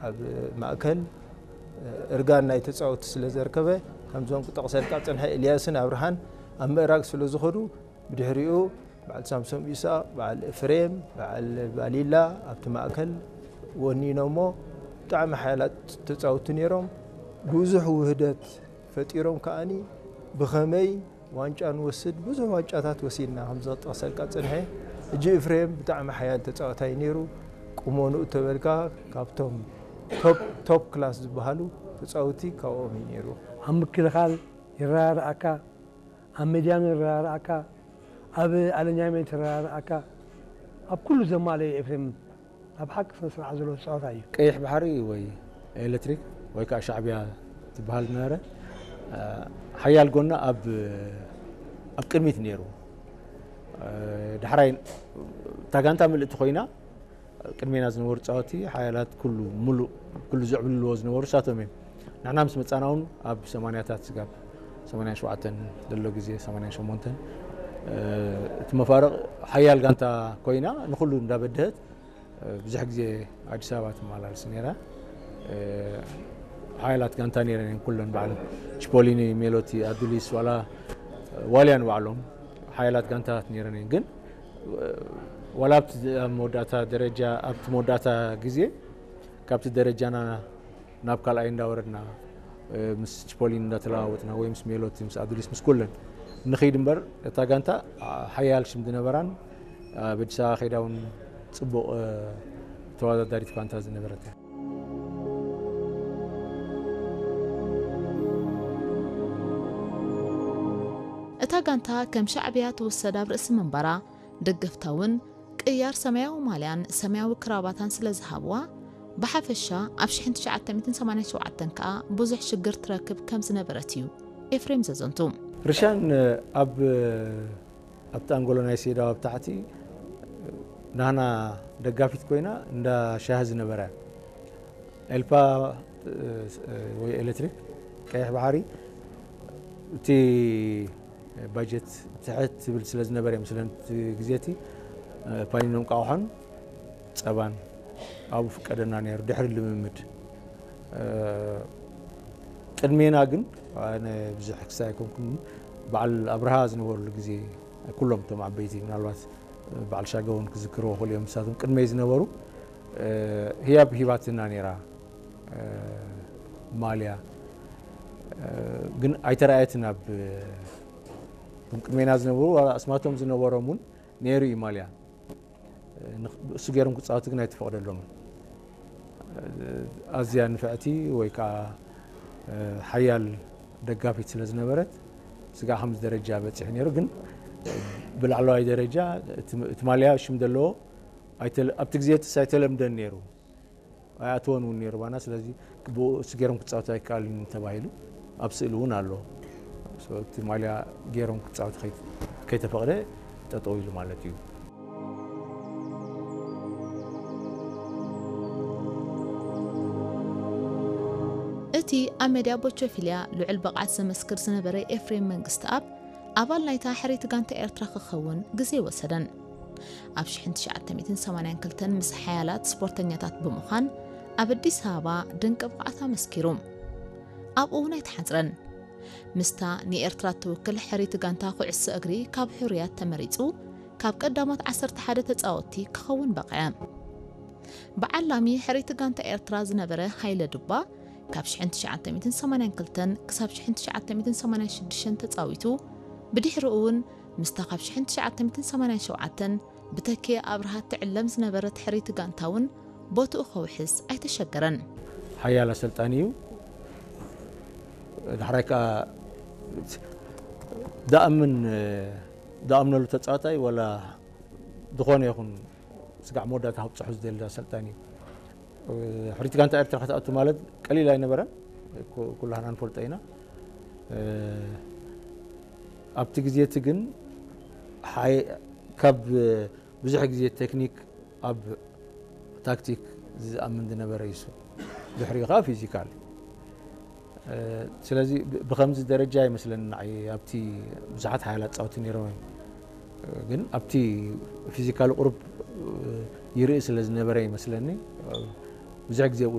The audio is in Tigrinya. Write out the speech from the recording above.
ኣብ ማእከል እርጋን ናይ ተጻወትቲ ስለ ዘርከበ፣ ከምዞም ክጠቕሰልካ ዝጸንሐ ኤልያስን ኣብርሃን ኣብ ምእራግ ስለ ዝኸዱ፣ ብድሕሪኡ በዓል ሳምሶም ኢሳቕ፣ በዓል ኤፍሬም፣ በዓል ባሊላ ኣብቲ ማእከል ወኒኖሞ። ብጣዕሚ ሓያላት ተጻወትቲ ነይሮም። ብዙሕ ውህደት ፈጢሮም ከኣኒ ብኸመይ ዋንጫ ንወስድ፣ ብዙሕ ዋንጫታት ወሲድና፣ ከም ዘጠቕሰልካ ጽንሐ። ሕጂ ኤፍሬም ብጣዕሚ ሓያል ተጻዋታይ ነይሩ። ቁመንኡ ተበልካ ካብቶም ቶፕ፣ ቶፕ ክላስ ዝበሃሉ ተጻወቲ ካብኦም እዩ ነይሩ። ኣብ ምክልኻል ይረዳድኣካ፣ ኣብ ሜድያም ይረዳድኣካ፣ ኣብ ኣለኛመንት ይረዳድኣካ፣ ኣብ ኩሉ ዘማለየ ኤፍሬም ኣብ ሓቂ ስነ ስርዓት ዘለዎ ተጻዋታይ እዩ። ቀይሕ ባሕሪ ወይ ኤሌክትሪክ ወይ ከዓ ሻዕብያ ትበሃል ነበረ። አ፣ ሓያል ጎና ኣብ፣ ኣብ ቅድሚት ነይሩ። አ፣ ዳሕራይ እታ ጋንታ ምልእቲ ኮይና፣ ቅድሜና ዝነበሩ ተጻወቲ ሓያላት፣ ኩሉ ሙሉእ፣ ኩሉ ዝዕብልልዎ ዝነበሩ እሳቶም እዮም። ንሕና ምስ መጻና እውን ኣብ ሰማንያታት ስጋብ ሰማንያን ሸውዓተን ዘሎ ግዜ፣ ሰማንያን ሸሞንተን፣ እ፣ እቲ መፋርቕ ሓያል ጋንታ ኮይና ንኹሉ እንዳበደሀት፣ እ፣ ብዙሕ ግዜ ኣዲስ ኣበባ ትመላለስ ነይራ። እ፣ ሓያላት ጋንታ ነይረን እየን ኩለን፣ በዓል ቺፖሊኒ፣ ሜሎቲ፣ ኣዱሊስ፣ ዋላ ዋልያ ንባዕሎም ሓያላት ጋንታታት ነይረን እየን። ግን፣ እ፣ ዋላ ኣብቲ፣ ኣብ መወዳእታ ደረጃ፣ ኣብቲ መወዳእታ ግዜ ካብቲ ደረጃና ናብ ካልኣይ እንዳወረድና፣ እ፣ ምስ ቺፖሊን እንዳተለዋወጥና ወይ ምስ ሜሎቲ፣ ምስ ኣዱሊስ፣ ምስ ኩለን ንኸይድ እምበር፣ እታ ጋንታ፣ አ፣ ሓያል ሽም ዝነበራን፣ ኣብ ኣዲስ ኣበባ ከይዳ እውን ጽቡቕ፣ እ፣ ተወዳዳሪት ጋንታ ዝነበረት እያ። እታ ጋንታ ከም ሻዕብያ ትውሰድ ኣብ ርእሲ ምንባራ፣ ደገፍታ እውን ቅያር ሰማያዊ ማልያን ሰማያዊ ክራባታን ስለ ዝሃብዋ፣ ብሓፈሻ ኣብ ሽሕን ትሽዓተ ሚእትን ሰማንያን ሸውዓተን ከኣ ብዙሕ ሽግር ትረክብ ከም ዝነበረት እዩ ኤፍሬም ዘዘንቱ። ርሻን ኣብ፣ ኣብቲ ኣንጎሎ ናይ ሴዳው ኣብ ታሕቲ ናህና ደጋፊት ኮይና እንዳ ሻሂ ዝነበረ ኤልፓ፣ እ፣ ወይ ኤሌክትሪክ ቀይሕ ባሕሪ፣ እቲ ባጀት ትሕት ትብል ስለ ዝነበረ እዮም፣ ስለ እቲ ግዜ እቲ፣ እ፣ ፓኒኖን ቃውሖን ጸባን ኣብኡ ፍቀደና ነይሩ ድሕሪ ልምምድ። እ፣ ቅድሜና ግን ኣነ ብዙሕ ክሳይ ኣይኮንኩን፣ በዓል ኣብርሃ ዝነበሩሉ ግዜ ኩሎም እቶም ዓበይቲ፣ ምናልባት በዓል ሻገውን ክዝክርዎ ክእሉ እዮም፣ ንሳቶም ቅድመይ ዝነበሩ፣ እ፣ ህያብ ሂባትና ነይራ። እ፣ ማልያ፣ እ፣ ግን ኣይተረኣየትን። ኣብ፣ እቶም ቅድሜና ዝነበሩ ዋላ ኣስማቶም ዝነበሮም እውን ነይሩ እዩ ማልያ። እ፣ ንኽ-፣ እሱ ገይሮም ክጻወቱ ግን ኣይተፈቕደሎምን። እ፣ ኣዝያ ንፍዕቲ ወይ ከዓ፣ እ፣ ሓያል ደጋፊት ስለ ዝነበረት፣ ስጋዕ ከምዚ ደረጃ በጺሑ ነይሩ። ግን ብላዕለዋይ ደረጃ እቲ፣ እቲ ማልያ ሽም ዘለዎ ኣይተለ-፣ ኣብቲ ግዜ እትስ ኣይተለምደን ነይሩ። ኣይኣተወን እውን ነይሩ ባና። ስለዚ ብኡ እሱ ገይሮም ክጻወቱ ኣይከኣልን ተባሂሉ ኣብ ስእሊ እውን ኣሎ። So፣ እቲ ማልያ ገይሮም ክጻወቱ ከይ-፣ ከይተፈቕደ ጠጠው ኢሉ ማለት እዩ። እቲ ኣብ መድያ ቦቾፊልያ ልዑል ብቕዓት ዘመስክር ዝነበረ ኤፍሬም መንግስትኣብ፣ ኣባል ናይታ ሕርይቲ ጋንታ ኤርትራ ክኸውን ግዜ ኣይወሰደን። ኣብ ሽሕን ትሽዓተ ሚእትን ሰማንያን ክልተን ምስ ሓያላት ስፖርተኛታት ብምዃን ኣብ ኣዲስ ኣበባ ድንቂ ብቕዓት ኣመስኪሩ። ኣብኡ እውን ኣይተሓጽረን። ምስታ ንኤርትራ እትውክል ሕርይቲ ጋንታ ኩዕሶ እግሪ ካብ ሕሩያት ተመሪጹ፣ ካብ ቀዳሞት ዓሰርተ ሓደ ተጻወትቲ ክኸውን በቕዐ። ብዓላሚ ሕርይቲ ጋንታ ኤርትራ ዝነበረ ሃይለ ዱባ፣ ካብ ሽሕን ትሽዓተ ሚእትን ሰማንያን ክልተን ክሳብ ሽሕን ትሽዓተ ሚእትን ሰማንያን ሽዱሽተን ተጻዊቱ፣ ብድሕሪኡ እውን ምስታ ካብ ሽሕን ትሽዓተ ሚእትን ሰማንያን ሸውዓተን ብተኪኤ ኣብርሃ ትዕለም ዝነበረት ሕርይቲ ጋንታ እውን ቦትኡ ከውሕስ ኣይተሸገረን። ሓያል ኣሰልጣኒ እዩ። ዳሕራይ ከኣ ዝኣምን፣ ዝኣምነሉ ተጻዋታይ ዋላ ዝኾነ ይኹን ስጋዕ መወዳእታ ከብጽሑ ዝደሊ ኣሰልጣኒ እዩ። ሕርይቲ ጋንታ ኤርትራ ክትኣቱ ማለት ቀሊል ኣይነበረን። ኩ-፣ ኩላህና ንፈልጦ ኢና። ኣብቲ ግዜ እቲ ግን ሓይ-፣ ካብ ብዙሕ ግዜ ቴክኒክ ኣብ ታክቲክ ዝኣምን ዝነበረ እዩ እሱ። ድሕሪኡ ከኣ ፊዚካል። እ፣ ስለዚ ብ-፣ ብኸምዚ ደረጃ ይመስለኒ ንዓይ ኣብቲ ብዙሓት ሓያላት ጻውቲ ነይሮም እዮም። እ፣ ግን ኣብቲ ፊዚካል ቁሩብ፣ እ፣ ይርኢ ስለ ዝነበረ ይመስለኒ፣ እ፣ ብዙሕ ግዜ ኣብኡ